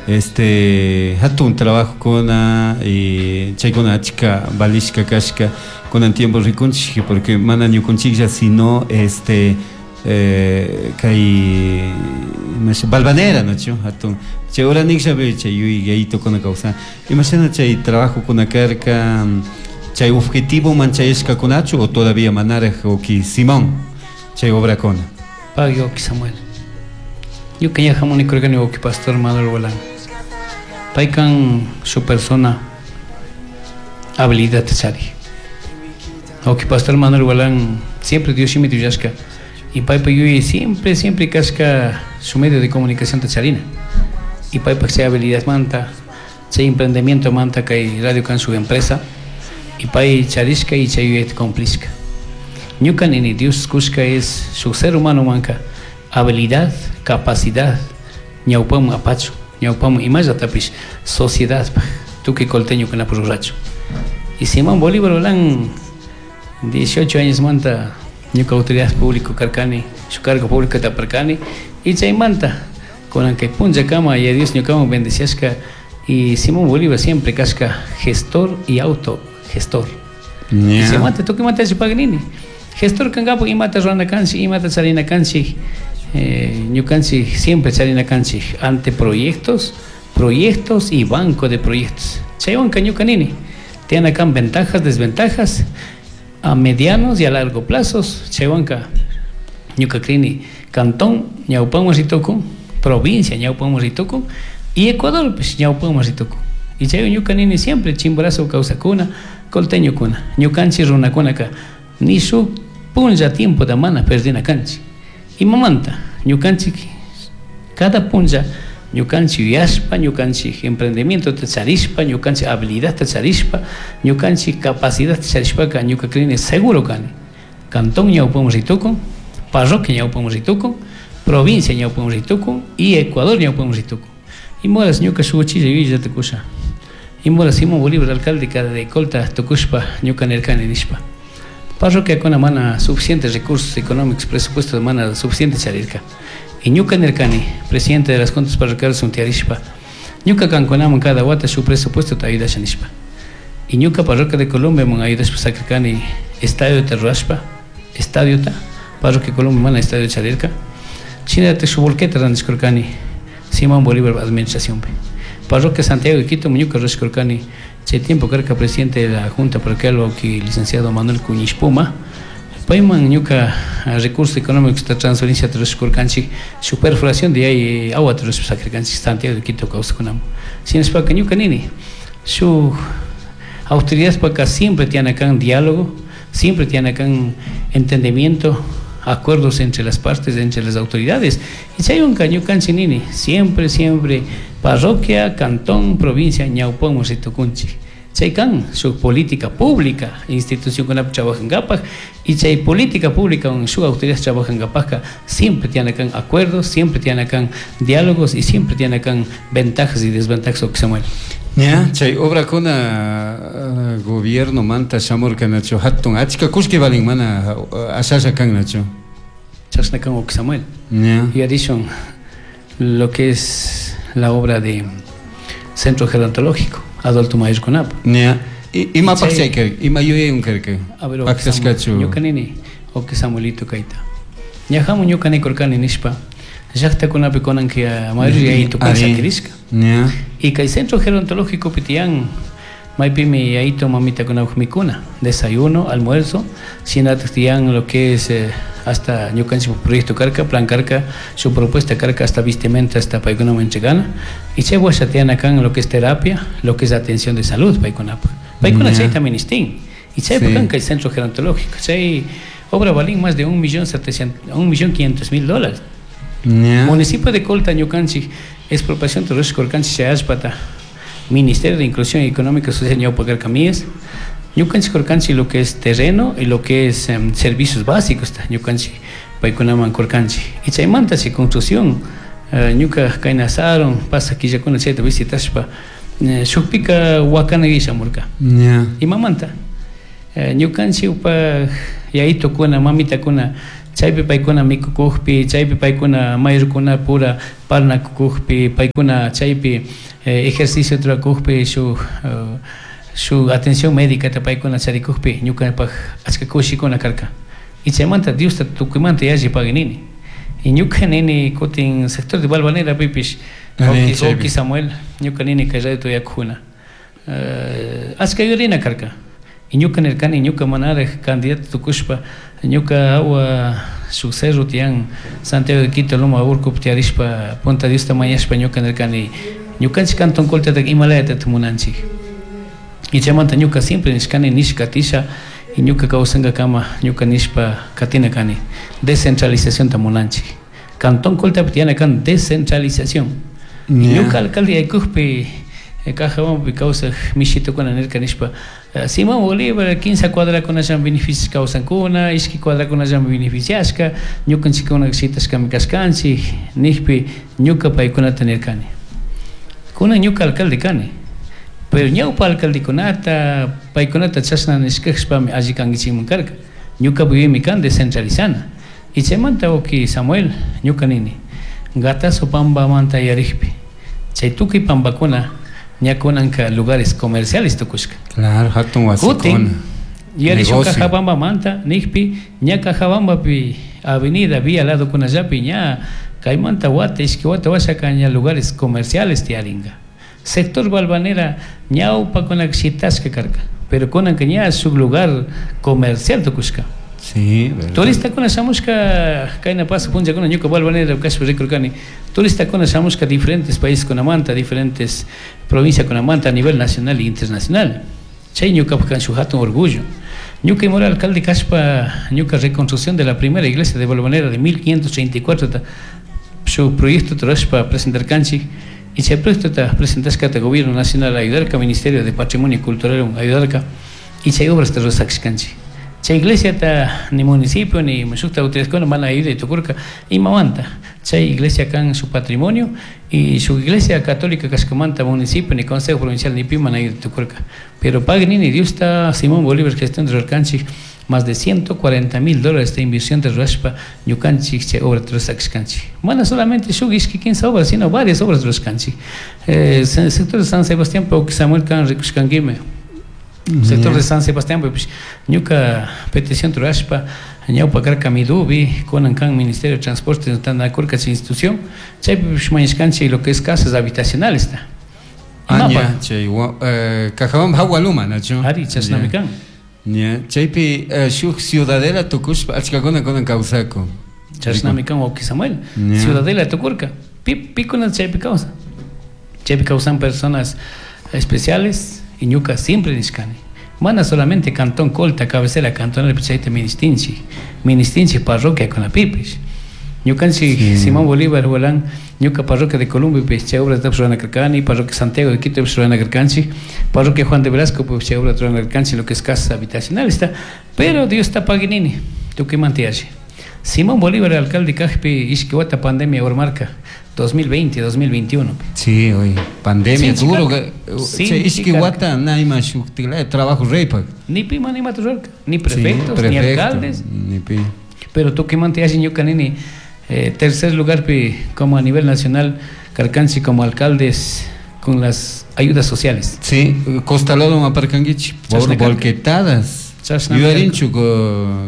Este hatun trabajokuna y chaykuna achka valishka kashka kunan tiempo rikunchik, porque mana ñukunchiklla, sino este kay Balvanera, nachu hatun chay uranikllapi chay yuyayitokuna kawsan. Imashina chay trabajokuna karka, chay objetivoman chayashkakunachu o todavía manaraj, uki Simón, chay obrakuna? Pagui, uki Samuel. Ñuka ña hamuni kurkani uki pastor Manuel Gualán. Paykan su persona habilidad chari. Uki pastor Manuel Gualán siempre Dios shimita yuyashka y paypa yuyay siempre, siempre kashka su medio de comunicación ta charina. Y paypa chay habilidad manta, chay emprendimiento manta kay radio kan su empresa y pay charishka y chay yuyayta cumplishka. Ñuka nini Dios kushka es su ser humano manka habilidad, capacidad, ñawpaman apachu, ñawpaman imallatapish sociedad tukuy colteño kunapak rurachu. Y Simón Bolívar Gualán 18 años manta ñuka autoridad público karkani, su cargo público taparkani y chaymanta kunan kay punllakama ya Dios ñukaman bendeciashka y Simón Bolívar siempre kashka gestor y autogestor. Y chaymanta tukuymanta pagnini. Gestor kankapak imata rurana kanchik, imata charina kanchik, ñukanchik siempre charina kanchik ante proyectos, proyectos y banco de proyectos. Chaywanka ñuka nini, tiene acá ventajas, desventajas a medianos y a largo plazos. Chaywanka ñuka crini cantón ñawpaman ritukun, provincia ñawpaman ritukun y Ecuador pues ñawpaman ritukun. Y chay ñuka nini siempre Chimborazo kawsakuna, colteñokuna, ñukanchik runakunaka ni shuk punlla tiempo da mana perdina kanchik. Imamanta ñukanchik cada punlla ñukanchik yuyashpa, ñukanchik emprendimiento ta charishpa, ñukanchik habilidad ta charishpa, ñukanchik capacidad ta charishpaka ñuka crini seguro kani. Cantón ñawpaman ritukun, parroquia ñawpaman ritukun, provincia ñawpaman ritukun y Ecuador ñawpaman ritukun. Imoras ñuka shuk uchilla yuyayllata kusha. Imoras Simón Bolívar alcalde de Colta tukushpa ñuka nirkani nishpa. Parroquia mana suficientes recursos económicos, presupuesto mana suficiente charirka. Y ñuka nirkani, presidente de las juntas parroquiales untiarishpa, ñuka kankunaman cada wata su presupuesto ta ayudasha nishpa. Y ñuka parroquia de Colombia man ayudashpa sakirkani estadio ta rurashpa, estadio ta, parroquia Colombia mana estadio charirka. Shinallata su volqueta randishkurkani Simón Bolívar administración pe. Parroquia Santiago de Quito, ñuka rurashkurkani, chay tiempo karka presidente de la junta parroquial uki licenciado Manuel Cuñiz Puma. Payman ñuka recursos económicos ta transferencia rurashkurkanchik, su perforación de ahí agua rurashpa sakirkanchik Santiago de Quito kawsakunaman. Shinashpaka ñuka nini, su autoridad paka siempre tiene acá un diálogo, siempre tiene acá un entendimiento, acuerdos entre las partes, entre las autoridades. Y si hay un caño canchinini, siempre, siempre, parroquia, cantón, provincia, ñawpaman ritukunchik. Chay kan su política pública, institución con la trabajan gapaj, y chay política pública con su autoridad trabajan gapajka, siempre tiene acá acuerdos, siempre tiene acá diálogos y siempre tiene acá ventajas y desventajas, o que Samuel. Ya, chay obra kuna gobierno manta shamurka nacho hatun achka kushki valin mana ashasha kan nacho. Chashna kan o que Samuel. Ya. Y adición lo que es la obra de Centro Gerontológico Adolfo Mayer Kunap. Ya. Ima pachay kar, ima yuyay un karka. A ver, o Pactashkachu. ñuka nini, o que Samuelito kaita. Ñajamu ñuka ni korkani nishpa. Llaqta kunapi kunan que a mayoría yayito Ari. sakirishka. Ya. Y kay Centro Gerontológico pitian maypimi yayito mamita kunapaj mikuna, desayuno, almuerzo, shinataq tiyan lo que es hasta ñukanchik proyecto karka, plan karka, su propuesta karka hasta vestimenta hasta paykunaman entregana. Y chay washa tiyan acá en lo que es terapia, lo que es atención de salud paykunapaj. Paykuna chayta ministín. Y chay kan kay Centro Gerontológico, chay obra valín más de un millón setecientos, un millón quinientos mil dólares. Municipio de Colta, ñukanchik, expropiación terrestre Colcanchi, Chayashpata, Ministerio de Inclusión Económica y Social, ñawpa karka Mies. Ñukanchik Colcanchi lo que es terreno y lo que es servicios básicos, ta, ñukanchik paykunaman Colcanchi. Y chaymanta si construcción, ñuka kaynasaron, pasa quillakuna chayta visitashpa, shukpika wakana shamurka. Imamanta, ñukanchik upa yayitukuna, mamitakuna, Chaypi paykuna mikukukpi, chaypi paykuna mayorkuna pura parnakukukpi, paykuna chaypi ejercicio rurakukpi, shuk atención médica paykuna charikukpi, ñukapak achka kushikuna karka. Y chaymanta Diosta tukuymanta yalli paginini. Y ñuka nini kutin sector de Balvanera pipish, wawki Samuel, ñuka nini kay radio tuyakuna. Achka yurina karka. Y ñuka nirkani, ñuka manaraj candidato tukushpa, ñuka awa shuk cerro tiyan Santiago de Quito loma urkupi tiyarishpa, punta Diosta mañashpa ñuka nirkani, ñukanchik Cantón Coltataka imalayatata munanchik. Y chaymanta ñuka siempre nishkani, nishka katisha, y ñuka kawsankakama ñuka nishpa katina kani, descentralizacionta munanchik. Cantón Coltapi tiyana kan descentralización. Ñuka alcalde yaykukpi, Cajabambapi kawsaj mishitukuna nirka nishpa, Simón Bolívar 15 cuadrakunallami beneficios kawsankuna, ishki cuadrakunallami beneficiashka, ñukanchikkuna shitashkami kashkanchik, nijpi ñuka paykunata nirkani. Kunan ñuka alcalde kani, pero ñawpa alcaldekunata, paykunata chashna nishkashpami alli kankichikman karka. Ñuka yuyaymi kan descentralizana. Y chaymanta wawki Samuel, ñuka nini, Gatazo pampamanta yarikpi, chay tukuy pampakuna ña kunanka lugares comerciales tukushka. Claro, hatun wasikuna. Kutin, yarishun Cajabambamanta nijpi, ña Cajabambapi avenida vía lado kunallapi ña kaymanta wata, ishki wata washaka ña lugares comerciales tiyaringa. Sector Balvanera ñawpakunaka shitashka karka, pero kunanka ña shuk lugar comercial tukushka. Sí, verdad. Turistakuna shamushka, kayna pasa punllakuna ñuka Balvanera kashpa rikurkani, turistakuna shamushka diferentes países kunamanta, diferentes provincias kunamanta a nivel nacional e internacional. Chay ñukapak kan shuk hatun orgullo. Ñuka imora alcalde kashpa, ñuka reconstrucción de la primera iglesia de Balvanera de 1534 ta, shuk proyecto rurashpa presentarkanchik, y chay proyecto ta presentashkata gobierno nacional ayudarka, Ministerio de Patrimonio Cultural ayudarka, y chay obras ta rurashkanchik. Chay iglesia ta ni municipio ni shukta autoridadkuna mana ayuda tukurka, imamanta. Chay iglesia kan su patrimonio y su iglesia católica kashkamanta municipio ni consejo provincial ni pi mana ayuda tukurka. Pero pagni ni Dios ta Simón Bolívar gestión de rurarkanchik más de 140 mil dólares de inversión de rurashpa ñukanchik chay obra rurashkanchik. Mana solamente shuk ishki kinsa obras, sino varias obras rurashkanchik. Sector de San Sebastián, Pauki Samuel kan rikushkankime. Sector de San Sebastián, pues, ñuka petición rurashpa, ñawpa karka Midubi, kunan kan Ministerio de Transporte, tantakurka chay institución, chaypi pues, mañashkanchik lo que es casas habitacionales ta. Ah, Imapa? ña, chay, Cajabamba hawa luma, nachu? Ari, chashnami kan. Ña, chaypi shuk ciudadela tukushpa, achkakuna kunan kawsakun. Chashnami kan, wawki Samuel. Ña. Ciudadela tukurka. Pikuna chaypi kawsan. Chaypi kawsan personas especiales y ñuka siempre nishkani. Mana solamente Cantón Colta, cabecera cantonal, chayta ministinchik. Ministinchik parroquia con la pipish. Ñukanchik Simón Bolívar, Hualán, ñuka parroquia de Colombia, pues, chay obra rurana karkani, parroquia Santiago de Quito, pues, rurana karkanchik, parroquia Juan de Velasco, pues, chay obra rurana karkanchik, lo que es casas habitacionales está. Pero Dios está paginini, tukuymanta yalli. Simón Bolívar, alcalde kajpi, ishki wata pandemia urmarka, 2020, 2021. Sí, oye, pandemia, Sinchi duro, karka. que, Sinchi che, ishki karka. wata, na ima shukti, trabajo reypak. Ni pi mana imata rurarka, ni Sí, prefectos, ni prefecto, alcaldes. Ni pi. Pero tukuymanta yalli ñuka nini, tercer lugar pi, como a nivel nacional, karkanchik como alcaldes con las ayudas sociales. Sí, costalado aparcanguichi, por Chashna karka. volquetadas. Chashna Yuyarinchu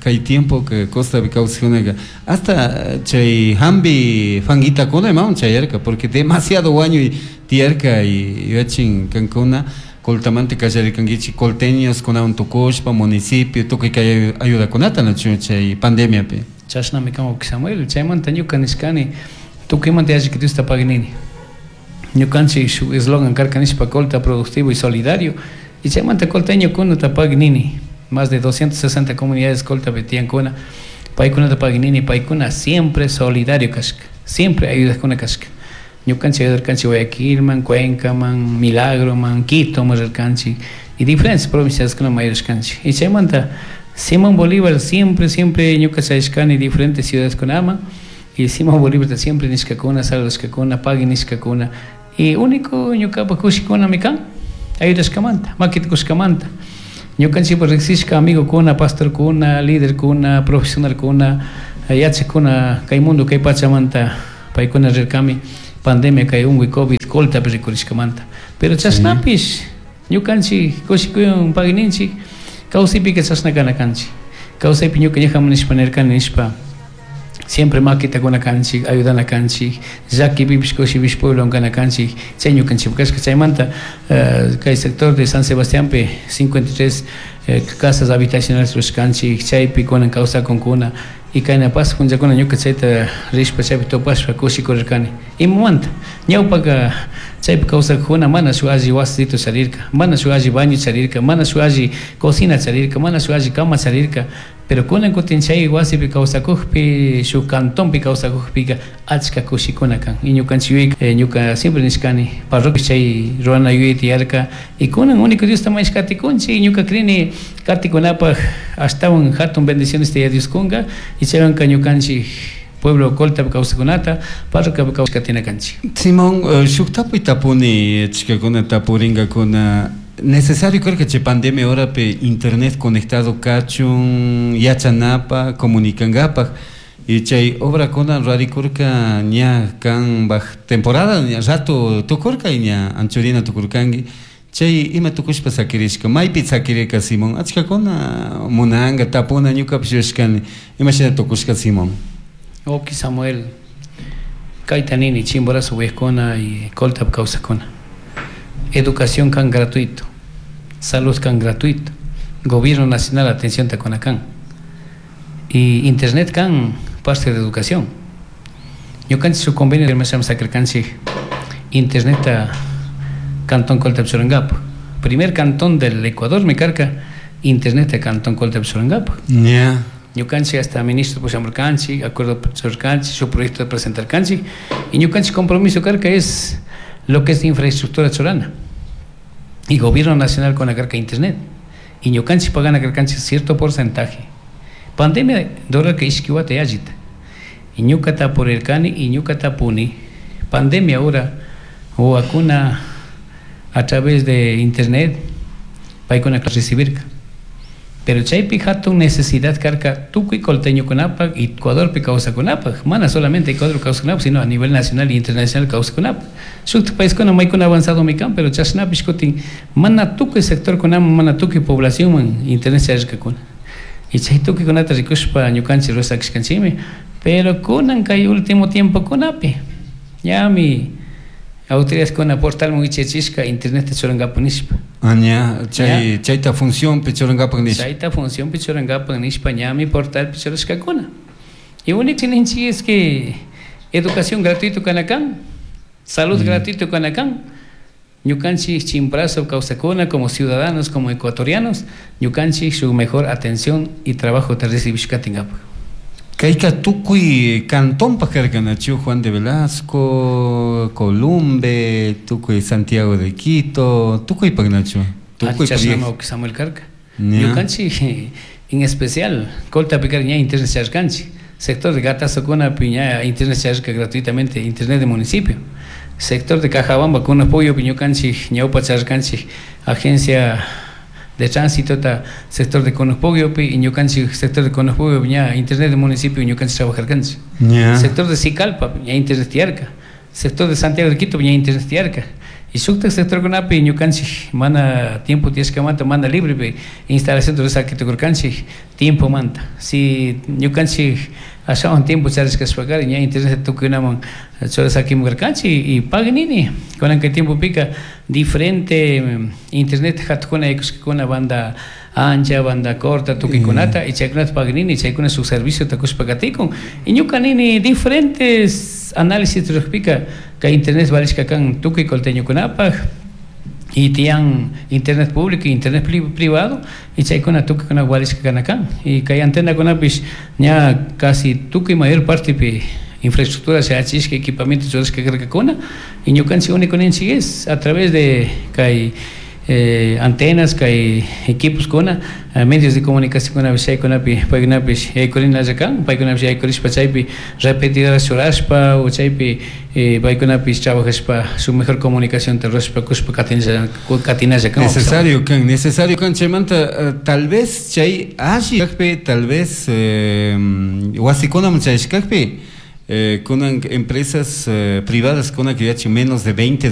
kay tiempo que Costa kawsajunaka, hasta chay hambi fanguitakuna imawan chayarka, porque demasiado wañuy tiyarka y yuyachin kankuna coltamante kallarikankichik colteños kunawan tukushpa municipio tukuy kay ayudakunata nachu chay pandemiapi. Chashnami kan wawki Samuel, chaymanta ñuka nishkani tukuymanta yalli Diosta paginini. Ñukanchik shuk eslogan karka nishpa Colta productivo y solidario, y chaymanta colteño kunata paginini. Más de 260 comunidades Colta tiyankuna, paykunata paginini, paykuna siempre solidario kashka, siempre ayudakuna kashka. Ñukanchik ayudarkanchik Guayaquilman, Cuencaman, Milagroman, Quitoman rirkanchik, y diferentes provincias kunaman ayudashkanchik. Y chaymanta Simón Bolívar siempre, siempre ñuka chayashkani diferentes ciudades kunaman, y Simón Bolívar siempre nishkakuna, saludashkakuna, pagui nishkakuna, y único ñukapak kushikunami kan, ayudashkamanta, makita kushkamanta. Ñukanchikpa riksishka amigokuna, pastorkuna, liderkuna, profesionalkuna, Yachakuna kay mundo kay pachamanta paykuna rirkami pandemia kay unkuy COVID Coltapi rikurishkamanta. Pero chashnapish ñukanchik kushikuywan pagninchik kawsaypika chashna kana kanchik. Kawsaypi ñuka ñajaman nishpa nirkani nishpa siempre maquita kuna kanchik, ayudana kanchik, llakipipish kushipish pueblowan kana kanchik, chay ñukanchik kashka. Chaymanta kay sector de San Sebastiánpi 53 casas habitacionales rurashkanchik, chaypi kunan kawsakunkuna. Y kayna pasaq punllakuna ñuka chayta rishpa chaypi tupashpa kushikurirkani. Imamanta? Ñawpaka chaypi kawsakuna mana shuk alli wasito charirka, mana shuk alli baño charirka, mana shuk alli cocina charirka, mana shuk alli cama charirka. Pero kunan kutin chay wasipi kawsakukpi, shuk cantonpi kawsakukpika achka kushikuna kan. Y ñukanchik yuyay, ñuka siempre nishkani, parroquia chay rurana yuyay tiyarka. Y kunan único Diosta mañashkatikunchik, ñuka crini katikunapaj ashtawan hatun bendiciones tiya Dios kunka, y chaywanka ñukanchik pueblo Coltapi kawsakunata, parroquiapi kawsakatina kanchik. Simón, shuk tapuy tapuni, achkakuna tapuringakuna, necesario karka chay pandemia horapi internet conectado kachun yachanapaj, comunicankapaj, y chay obrakuna rarikurka ña kanpaj temporada ña rato tukurka y ña anchurina tukurkanki, chay ima tukushpa sakirishka, maypi sakirirka Simón, achkakuna munanka tapuna ñukapish yuyashkani, imashina tukushka Simón. Oki Samuel, kayta nini Chimborazo uyakuna y Coltapi kawsakuna. Educación kan gratuito, salud kan gratuito, gobierno nacional atención takuna kan, y internet kan parte de educación. Ñukanchik su convenio de sakirkanchik internet cantón Coltapi churankapak. Primer cantón del Ecuador me carga internet cantón Coltapi churankapak. Ñukanchik hasta ministro pushamurkanchik, acuerdo churkanchik, su proyecto de presentarkanchik, y ñukanchik compromiso carga es lo que es infraestructura churana. Y gobierno nacional con la carga internet. Y ñukanchik pagana carkanchik cierto porcentaje. Pandemia dora que ishkiwata yallita. Y ñukata por el cani y ñukata puni. Pandemia ahora o vacuna a través de internet paikuna recibirka. Pero chaypi hatun necesidad karka tukuy colteñokunapak y Ecuadorpi kawsakunapak, mana solamente Ecuador kawsakunapak, sino a nivel nacional e internacional kawsakunapak. Shuk paiskuna maykuna avanzado mikan, pero chashnapish kutin mana tukuy sectorkunaman, mana tukuy poblacionman internet charishkakuna. Y chay tukuykunata rikushpa ñukanchik rurashkanchikmi, pero kunan kay último tiempo kunapi ñami autoridades kuna portalman wichachishka internet churankapak nishpa. Ah, ña, chay, chayta función churankapak nishpa. Chayta función churankapak nishpa ñami portalpi churashkakuna. Y único ninchik es que educación gratuito kanakan, salud gratuito kanakan, ñukanchik Chimborazo kawsakuna como ciudadanos, como ecuatorianos, ñukanchik su mejor atención y trabajo te recibishkatinkapak. Kayka tukuy cantonpaj karkanachu Juan de Velasco, Columbe, tukuy Santiago de Quito, tukuy pagnachu. Tukuy chashnama Samuel karka. Ñukanchik en especial Coltapi ña internet charkanchik, sector de Gatazokuna ña internet charka gratuitamente, internet de municipio. Sector de Cajabamba con apoyo ñukanchik ñawpa charkanchik, agencia de tránsito ta sector de Conopogio y ñukanchik sector de Conopogio ña internet de municipio ñukanchik trabajarkanchik. Sector de Sicalpa ña internet tiarka, sector de Santiago de Quito ña internet tiarka. Y shuktak sector kunapi ñukanchik mana tiempo tiyashkamanta mana libre pi instalación rurasakitukurkanchik tiempo manta. Si ñukanchik ashawan tiempo charishkashpakari ña internet tukuykunaman churasakimurkanchik y paganini kunan kay tiempo pika diferente internet hatukuna yaykushkakuna banda ancha, banda corta, tukuykunata y chaykunata paganini chaykuna su servicio takushpa katikun. Y ñuka nini diferentes análisis rurajpika kay internet valishka kan tukuy colteñokunapaj y tiyan internet público y internet privado y chaykuna tukuykuna valishka kanakan. Y kay antenakunapish ña casi tukuy mayor parte pi infraestructura shachishka equipamiento churashka karkakuna y ñukanchik único ninchik es a través de kay Antenas kay equipos kuna medios de comunicación kunapish chaykunapi paykunapish yaykurinalla kan, paykunapish yaykurishpa chaypi repetidoras churashpa o chaypi paykunapish trabajashpa su mejor comunicación rurashpa kushpa katinalla kan. Necesario kan, necesario kan. Chaymanta tal vez chay alli kajpi, tal vez wasikunaman chayashkakpi, kunan empresas privadas kuna yachin menos de 20.